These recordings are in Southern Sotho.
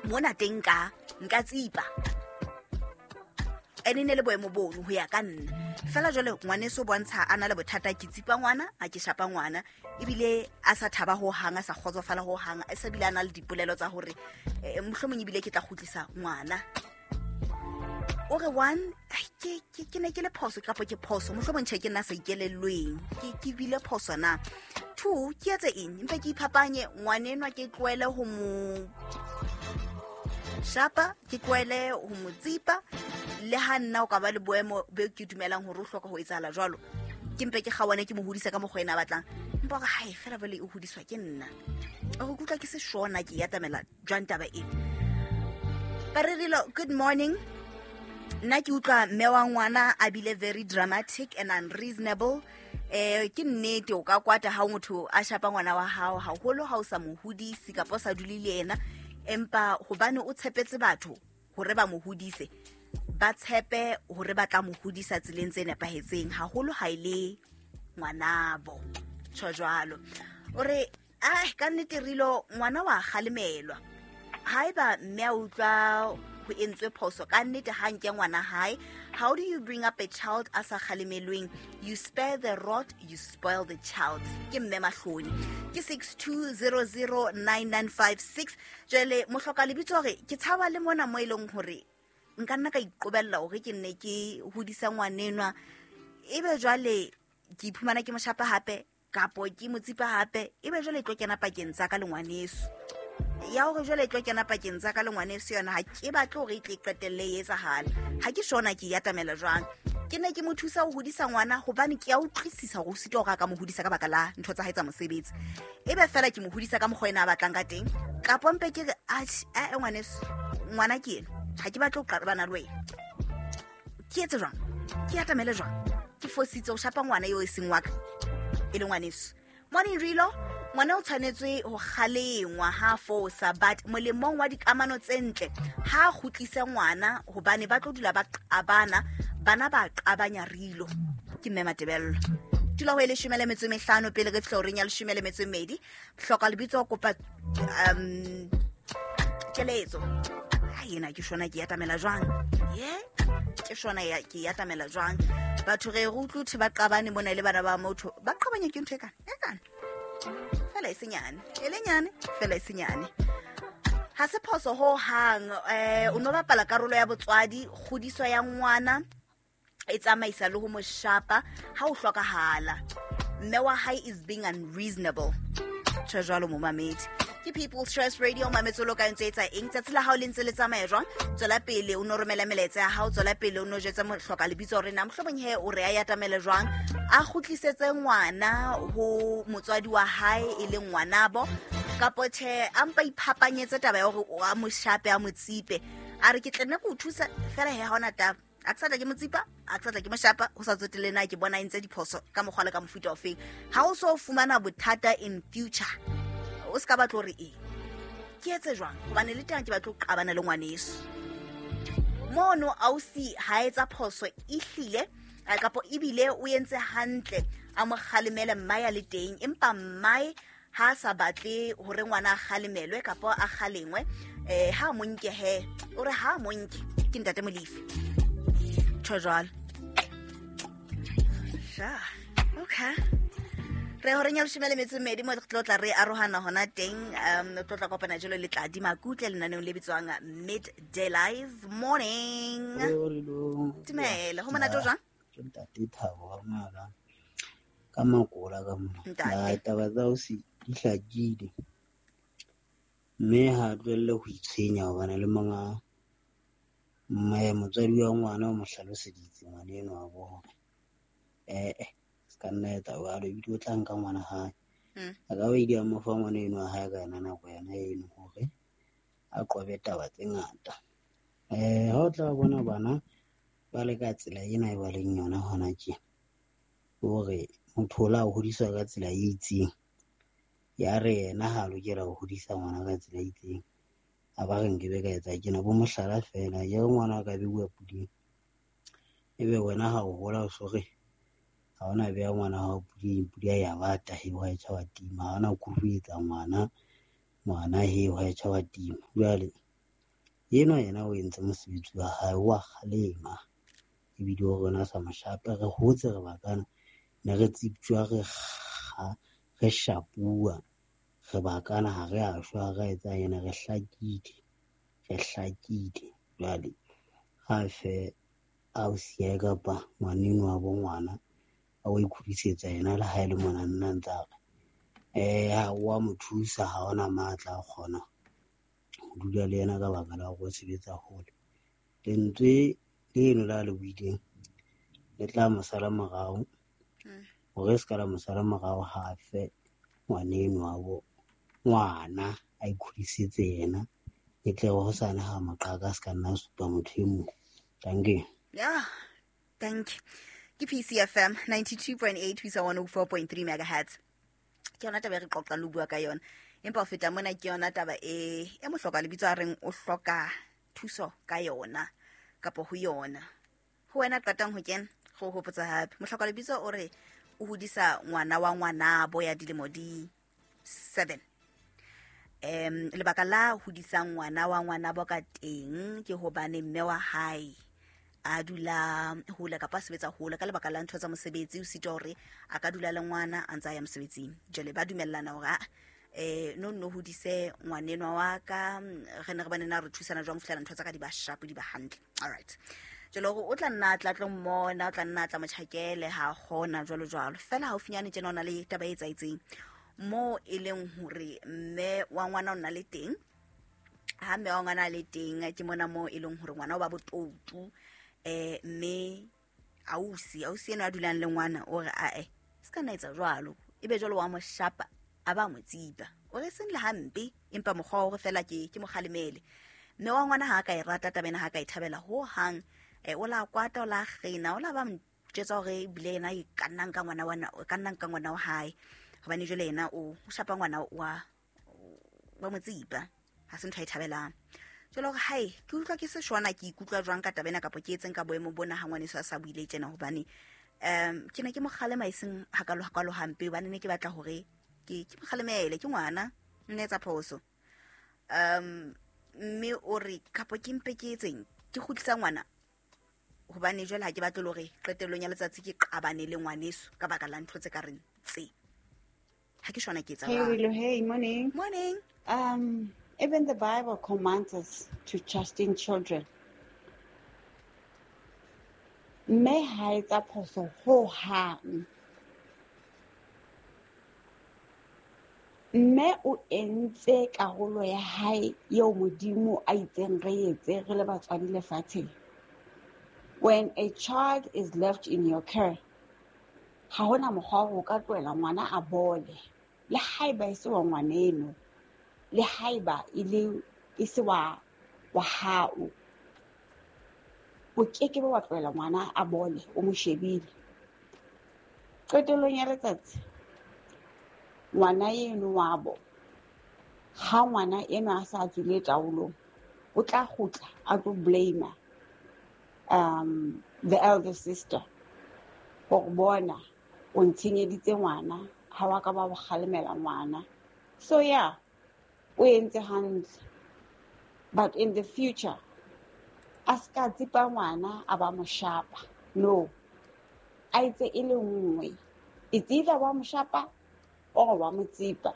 Mona teng nka tsipa. Ene ne le boemo bono ho ya ka nna. Fela jwale ngwaneso bontsha a na le bothata, ke tsipa ngwana, a ke shapa ngwana, ebile a sa thaba ho hang, a sa kgotsofala ho hang, a sa bile a na le dipolelo tsa hore mohlomong ebile ke tla kgutlisa ngwana. O re one, ke ne ke le phoso kapa ke phoso, mohlomong tjhe ke nna sa ikelellweng, ke bile phoso na. Two, ke etse eng? Mpe ke iphapanye ngwanenwa, ke tlohele ho mo shapa, ke tlohele ho mo tsipa, le ha nna o ka ba le boemo be ke dumelang hore o hloka ho etsahala jwalo, ke mpe ke kgawane ke mo hodisa ka mokgwa ena a batlang. Empa hore hae fela jwale e hodiswa ke nna. O re kutlwa ke se shona ke atamela jwang taba ena. Baririlo, good morning. Nna ke utlwa mme wa ngwana a bile very dramatic and unreasonable. Ke nnete o ka kwata ha motho a shapa ngwana wa hao, haholo ha o sa mo hodise kapa o sa dule le yena, empa hobane o tshepetse batho hore ba mo hodise, ba tshepe hore ba tla mo hodisa tseleng tse nepahetseng, haholo ha e le ngwanabo. Tjho jwalo. O re, ka nnete Rilo, ngwana wa kgalemelwa. Haeba mme a utlwa ho entswe phoso, ka nnete ha nke ngwana hae. How do you bring up a child a sa kgalemelweng? You spare the rod, you spoil the child. Ke mme Mahloni. Ke 62009956. Jwale mohloka lebitso hore ke tshaba le mona mo e leng hore nka nna ka iqobella hore ke nne ke hodisa ngwanenwa, ebe jwale ke iphumana ke mo shapa hape kapo ke mo tsipa hape, ebe jwale e tlo kena pakeng tsa ka le ngwaneso. Ya hore jwale e tlo kena pakeng tsa ka le ngwaneso yona, ha ke batle hore e tle e qetelle e etsahala. Ha ke shona ke e atamela jwang. Ke ne ke mo thusa ho hodisa ngwana hobane ke a utlwisisa hore o sitwa hore a ka mo hodisa ka baka la ntho tsa hae tsa mosebetsi. Ebe fela ke mo hodisa ka mokgwa ena a batlang ka teng, kapo mpe ke re, atjhe, ngwaneso, ngwana ke ena, ha ke batle ho qabana le wena. Ke etse jwang? Ke atamele jwang? Ke fositse ho shapa ngwana eo e seng wa ka, e le ngwaneso. Morning Rilo, ngwana o tshwanetswe ho kgalengwa ha fosa, but molemong wa dikamano tse ntle ha kgutlise ngwana hobane ba tlo dula ba qabana, bana ba qabanya Rilo. Ke mme Matebello. Tula ho e 15 pele re fihla horeng ya 12. Hloka lebitso kopa keletso. Ha ena ke shona ke atamela jwang? Ye? Ke shona ya ke atamela jwang? Batho re utlwe thwe ba qabane mona le bana ba motho. Ba qabanya ke ntho e kana? E kana. Fela e senyane. E le nyane, fela e senyane. Ha se phoso ho hang, o no bapala karolo ya botswadi, kgodiso ya ngwana e tsamaisa le ho mo shapa ha o hlokahala. Mme wa hae is being unreasonable. Tjho jwalo momamedi. Ke People's Choice Radio, mametse lo ka ntse etsa eng? Tsatsi la hao le ntse le tsamaya jwang? Tswela pele o no romela melaetsa ya hao, tswela pele o no jwetsa mohloka lebitso hore na mohlomong he o re a yatamele jwang, a kgutlisetse ngwana ho motswadi wa hae e leng ngwanabo, kapo tjhe a mpa iphapanyetse taba ya hore o a mo shape, a mo tsipe, a re ke tla nna ke o thusa fela he ha hona taba. A ke sa tla ke mo tsipa, a ke sa tla ke mo shapa, ho sa tsotelle na ke bona e ntse diphoso ka mokgwa le ka mofuta ofeng. Ha o so fumana bothata in future, o se ka batla hore eng ke etse jwang, hobane le teng ke batla ho qabana le ngwaneso. Mono ausi ha etsa phoso ehlile, kapo ebile o entse hantle, a mo kgalemele mmae a le teng, empa mmae ha sa batle hore ngwana a kgalemelwe kapo a kgalengwe, ha mo nke he, o re ha mo nke ke ntate Molefi. Tjho jwalo. Sha, okay. Re horeng ya 12 mo re tlo tla re arohana hona teng, re tlo tla kopana jalo le Tladi Makutle lenaneong le bitswang Midday Live. Morning. Dumela, ho monate o jwang? Ke ntate Thabo wa ngaka. Ka makola ka mona. Ntate. Taba tsa ho se di hlakile. Mme ha tlohelle ho itshwenya hobane le monga mme motswadi wa ngwana o mo hlaloseditse ngwana enwa wa bo hore, se ka nna etsa jwalo, ebile o tla nka ngwana hae. A ka ba ile a mo fa ngwana enwa wa hae ka yona nako yona eno hore a qobe taba tse ngata. Ha o tla bona bana ba le ka tsela ena e ba leng yona hona tje, hore motho o la hodiswa ka tsela e itseng, ya re yena ha lokela ho hodisa ngwana ka tsela e itseng, a ba re nkebe ka etsa tjena, bo mohlala fela, ya ngwana a ka beuwa puding, ebe wena ha o hola o so re ha ona beha ngwana hao puding, pudi ya bata he wa e tjha wa tima, ha ona kuruetsa ngwana, ngwana he wa e tjha wa tima. Jwale Enwa yena o entse mosebetsi wa hae wa kgalema ebile o rona sa moshape re hotse re bakana ne re tsiptjwa re shapuwa re bakana ha re a shwa re etsa yena re hlakile jwale ha fe ausi ya kapa ngwaneno wa bo ngwana a o ikhudisetsa yena le ha e le mona nna ntse a re ha wa mo thusa ha ona matla a kgona ho dula le yena ka baka la hore o sebetsa hole. Lentswe leno la le buileng le tla mo sala morao hore se ka la mo sala morao ha fe ngwaneno wa bo ngwana a ikgodisetse yena e tle ho sana ha moqhaka se ka nna supa motho e mong. Thank you. Yeah, thank you. Ke PCFM 92.8 ho isa 104.3 megahertz. Ke yona taba e re qoqa le bua ka yona. Empa ho feta mona ke yona taba e mohloka lebitso a reng o hloka thuso ka yona kapa ho yona. Ho wena qetang ho kena go hopotsa hape. Mohloka lebitso o re o hodisa ngwana wa ngwanabo ya dilemo di 7. Lebaka la hodisang ngwana wa ngwanabo ka teng ke hobane mme wa hae a dula hole kapa a sebetsa hole ka lebaka la ntho tsa mosebetsi o sitwa hore a ka dula le ngwana a ntse a ya mosebetsing. Jwale ba dumellana hore no hodise ngwanenwa wa ka re ne re bane na re thusana jwang ho fihlela ntho tsa ka di ba sharp di ba hantle. All right. Jwale hore o tla nna tla tlo mmona o tla nna tla motjhakele ha kgona jwalo jwalo. Fela haufinyane tjena ona le taba e etsaetseng mo e leng hore mme wa ngwana o nna le teng. Ha mme wa ngwana le teng ke mona mo e leng hore ngwana o ba botoutu mme ausi ena a dulang le ngwana o re ae se ka nna etsa jwalo ebe jwalo wa mo shapa a ba mo tsipa o re seng le hampe empa mokgwa wa hore fela ke mo kgalemele. Mme wa ngwana ha a ka e rata taba ena ha ka e thabela ho hang o la kwata o la kgena o la ba motjetsa hore ebile yena e ka nnang ka ngwana wa ka nnang ka ngwana wa hae hobane jwale yena o shapa ngwana wa mo tsipa ha se ntho a e thabelang. Jwale hore hae ke utlwa ke se shwana ke ikutlwa jwang ka taba ena kapa ke etseng ka boemo bona ha ngwaneso a sa buile tjena hobane ke ne ke mo kgalema e seng hakalo hampe hobane ne ke batla hore ke mo kgalemele ke ngwana nne etsa phoso. Mme o re kapo ke mpe ke etseng ke kgutlisa ngwana hobane jwale ha ke batle hore qetellong ya letsatsi ke qabane le ngwaneso ka baka la ntho tse ka reng tse. Ha ke shwana ke etsa. Hey Willow, hey, morning. Morning. Even the Bible commands us to chasten children. Mme ha etsa phoso ho hang. Mme o entse karolo ya hae eo Modimo a itseng re etse re le batswadi lefatsheng. When a child is left in your care, ha hona mokgwa o ka tlohela ngwana a bole. Le haeba e se wa ngwaneno, le haeba e se wa hao, o keke ba wa tlohela ngwana a bole o mo shebile. Qetellong ya letsatsi ngwana eno wa bo ha ngwana eno a sa tswile taolong o tla kgutla a tlo blame the elder sister hore bona o ntshenyeditse ngwana ha wa ka ba kgalemela ngwana. So yeah, o entse hantle, but in the future a ska tsipa ngwana a ba moshapa. No, a itse e le nngwe, it's either wa moshapa or wa mo tsipa.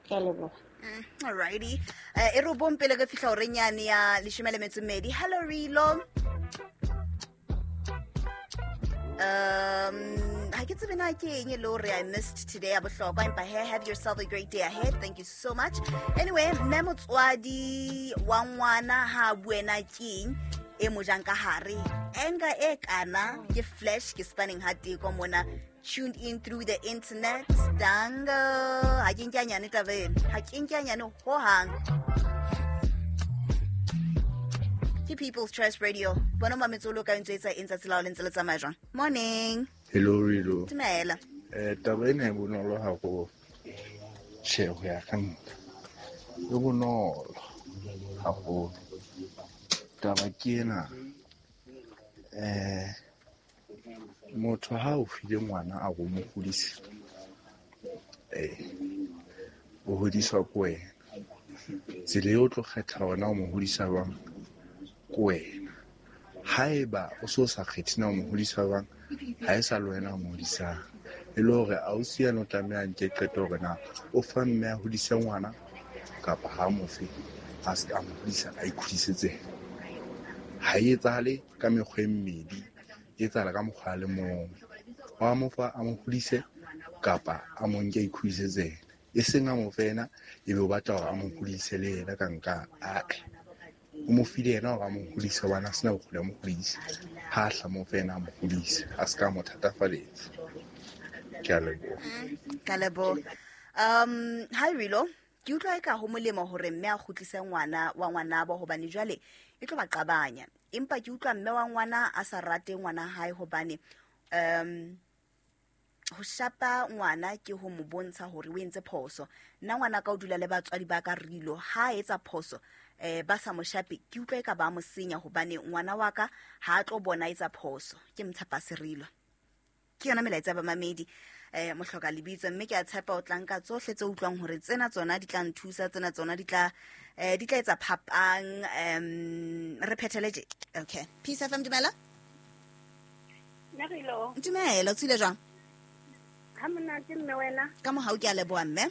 Ke a leboha. Alrighty. E re bong pele re fihla horeng yane ya 12. Hello Rilo. Ha ke tsebe na ke eng e le hore I missed today ya bohlokwa empa he have yourself a great day ahead. Thank you so much. Anyway, mme motswadi wa ngwana ha buena ke eng e mo jang ka hare. Anger e kana ke flash ke spanning ha teko mona tuned in through the internet. Dango ha ke nke nyane taba ena ha ke nke nyane ho hang. Ke People's Choice Radio. Bona mametsolo ka ntse etsa eng tsatsi la le ntse le tsamaya jwang. Morning. Hello Rilo. Dumela. Taba ena e bonolo haholo. Tjhe, ho ya ka nna. E bonolo haholo. Taba ke ena. Motho ha o file ngwana a go mo hodisa. O hodiswa ke wena. Tsela eo o tlo kgetha hore na o mo hodisa jwang ke wena. Haeba o so sa kgethe na o mo hodisa jwang, ha e sa le wena o mo hodisang. E le hore ausi yane o tlameha a nke qeto hore na o fa mme a hodise ngwana kapa ha mo fe, a se a mo hodisa, a ikgodisetse. Ha e etsahale ka mekgwa e mmedi, e etsahala ka mokgwa a le mong. Wa mo fa a mo hodise kapa a mo nke a ikgodisetse yena. E seng a mo fe yena, ebe o batla hore a mo hodise le yena ka nka ae. O mo file yena hore a mo hodise hobane a sena bokgoni ba mo hodisa. Ha a hla mo fe yena a mo hodise, a se ka mo thatafaletsa. Ke a leboha. Ka leboha. Ha Rilo, ke utlwa eka ho molemo hore mme a kgutlise ngwana wa ngwanabo hobane jwale e tlo ba qabanya. Empa ke utlwa mme wa ngwana a sa rate ngwana hae hobane ho shapa ngwana ke ho mo bontsha hore o entse phoso. Nna ngwana ka o dula le batswadi ba ka Rilo, ha a etsa phoso ba sa mo shape, ke utlwa eka ba mo senya hobane ngwana wa ka ha a tlo bona etsa phoso. Ke mtshapa Serilo. Ke yona melaetsa ya bamamedi mohloka lebitso, mme ke a tshepa o tla nka tsohle tse utlwang hore tsena tsona di tla nthusa, tsena tsona di tla etsa phapang. Re phethele tje. Okay. Peace FM, dumela. Nerilo. Dumela, o tswile jwang? Ha monate mme wena. Ka mohau ke a leboha mme.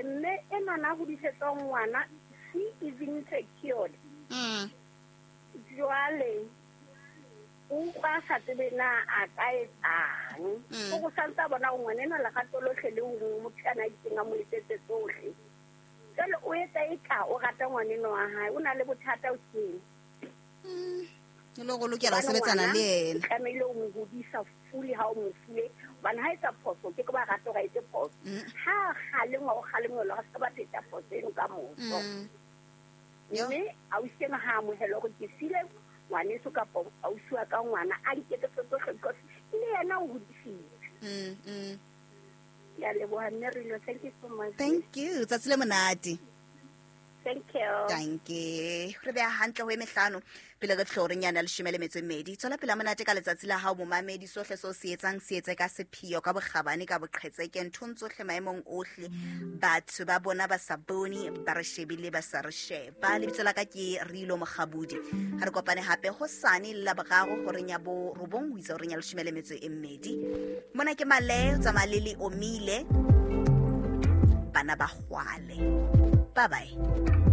Mme enwana a hodisetsang ngwana, she is insecure. Jwale o utlwa a sa tsebe na a ka etsang. O go santse a bona hore ngwana enwa lerato lohle le ho motho ana a itseng a mo etsetse tsohle. Jwale o etsa eka o rata ngwana enwa wa hae, o na le bothata o keng. E le hore o lokela ho sebetsana le yena. O tlamehile o mo hodisa fully ha o mo file. Hobane ha etsa phoso, ke ke ba rata hore a etse phoso. Ha kgalengwa, o kgalengwa, a se ka ba pheta phoso eno ka moso. Mme ausi ena ha amohela hore ke file ngwaneso kapa ausi wa ka ngwana a nketsetse tsohle because le yena o hodisitse. Ke a leboha mme Rilo, thank you so much. Thank you, tsatsi le monate. Thank you. Thank you. Re beha hantle ho e mehlano pele re fihla horeng yana 12. Tswela pele monate ka letsatsi la hao momamedi, sohle seo se etsang se etse ka sepheo, ka bokgabane, ka boqhetseke, nthong tsohle maemong ohle. Batho ba bona ba sa bone, ba re shebile, ba sa re sheba. Lebitso la ka ke Rilo Mokgabudi. Ha re kopane hape hosane le Laboraro horeng ya 9 ho isa horeng ya 12. Mona ke Male, tsamaya le le omile. Bana ba kgwale. Bye bye.